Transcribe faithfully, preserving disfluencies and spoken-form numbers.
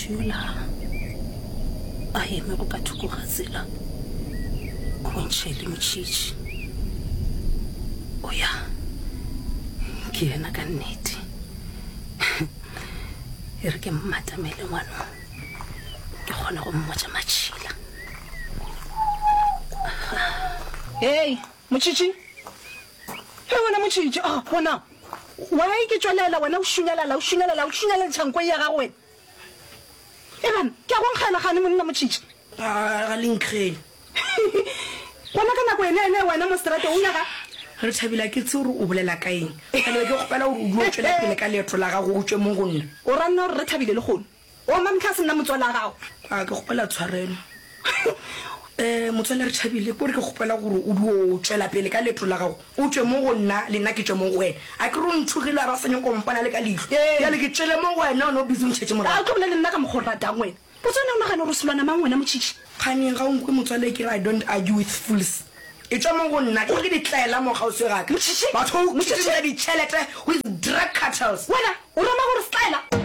Motho yola a emego ka thoko ga tsela o bontšha e le Motšhitšhi. O ya, ke yena ka nnete. E re ke mmatamele ngwano, ke kgone go mmotša matšhila. Hei, Motšhitšhi! Hei wena Motšhitšhi! Ah, gona why ke tšwelela wena o šunyalala, o šunyalala, o šunyalantšha nko ye ya gago wena? Eban, ke a go nkgela gane monna Motšhitšhi. A ga le nkgele. Gona ka nako ene ene wena mo seterateng o nyaka. Re thabile a ke tsebe gore o bolela ka eng. Bjale be ke kgopela gore o dule o tšwela pele ka leeto la gago o tšwe mo go nna. O ra nna gore re thabile lehono? O Mamtlha se nna motswala gago. A ke kgopela tshwarelo. Eh, motswala re thabile, ke gore ke kgopela gore o dule o tšwela pele ka leeto la gago, o tšwe mo go nna le nna ke tšwe mo go wena. A ke re o nthogile a ba sa nyaka go mpona le ka leihlo. Bjale ke tšwele mo go wena, wena o busy o ntšhetše morago. A o tlo bolela le nna ka mokgwa o ratang wena? Potso wena o nagana gore o selwana mang wena Motšhitšhi? Kganeng ga o nkwe motswala ke re I don't argue with fools. Etšwa mo go nna, ke gore ke ditlaela mo kgauswi ga ka. Motšhitšhi! Batho ba Motšhitšhi! utswitše ditšhelete with drug cartels. Wena o rema gore setlaela?